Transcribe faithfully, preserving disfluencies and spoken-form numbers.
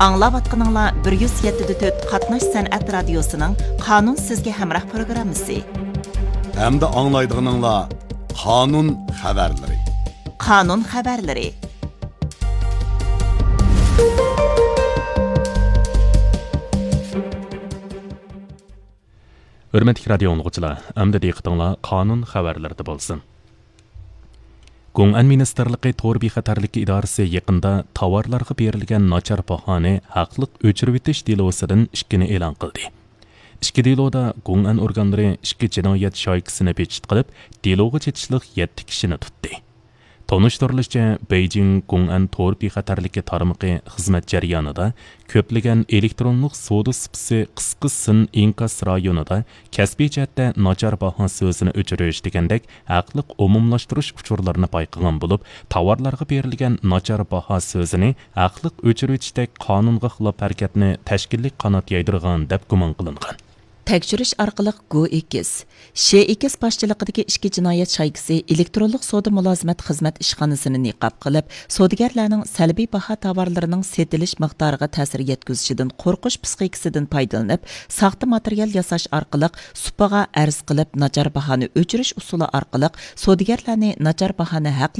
ئاڭلاۋاتقىنىڭلار بىر يۈز يەتتە دە تۆت قاتناش سەنئەت رادىيوسىنىڭ قانۇن سىزگە ھەمراھ پروگراممىسى. ھەمدە ئاڭلايدىغىنىڭلار قانۇن خەۋەرلىرى. قانۇن خەۋەرلىرى. ھۆرمەتلىك رادىيو ئاڭلىغۇچىلار، ئەمدى دىققىتىڭلار قانۇن خەۋەرلىرىدە بولسۇن. گۇڭئەن مىنىستىرلىقى تور بىخەتەرلىكى ئىدارىسى يېقىندا تاۋارلارغا بېرىلگەن ناچار باھانى ھەقلىق ئۆچۈرۈۋېتىش دېلوسىدىن ئىككىنى ئېلان قىلدى. ئىككى دېلودا گۇڭئەن ئورگانلىرى ئىككى جىنايەت شايكىسىنى بېكىتىپ قىلىپ، دېلوغا چېتىشلىق يەتتە كىشىنى تۇتتى. تونۇشتۇرۇلۇشىچە، بېيجىڭ گۇڭئەن تور بىخەتەرلىكى تارمىقى خىزمەت جەريانىدا كۆپلىگەن ئېلېكترونلۇق سودا سۇپىسى قىسقا سىن ئىنكاس رايونىدا كەسپىي جەھەتتە ناچار باھا سۆزىنى ئۆچۈرۈش دېگەندەك ھەقلىق ئومۇملاشتۇرۇش ئۇچۇرلىرىنى بايقىغان بولۇپ، تاۋارلارغا بېرىلگەن ناچار باھا سۆزىنى ھەقلىق ئۆچۈرۈۋېتىشتەك قانۇنغا خىلاپ ھەرىكەتنى تەشكىللىك قانات يايدۇرغان دەپ گۇمان قىلىنغان. تەكشۈرۈش ئارقىلىق گو ئېكس، شې ئېكس باشچىلىقىدىكى ئىككى جىنايەت شايكىسى ئېلېكترونلۇق سودا مۇلازىمەت خىزمەت ئىشخانىسىنى نىقاب قىلىپ، سودىگەرلەرنىڭ سەلبىي باھا تاۋارلىرىنىڭ سېتىلىش مىقدارىغا تەسىر يەتكۈزۈشىدىن قورقۇش پىسخىكىسىدىن پايدىلىنىپ، ساختا ماتېرىيال ياساش ئارقىلىق سۇپىغا ئەرز قىلىپ، ناچار باھانى ئۆچۈرۈش ئۇسۇلى ئارقىلىق سودىگەرلەرنى ناچار باھانى ھەقلىق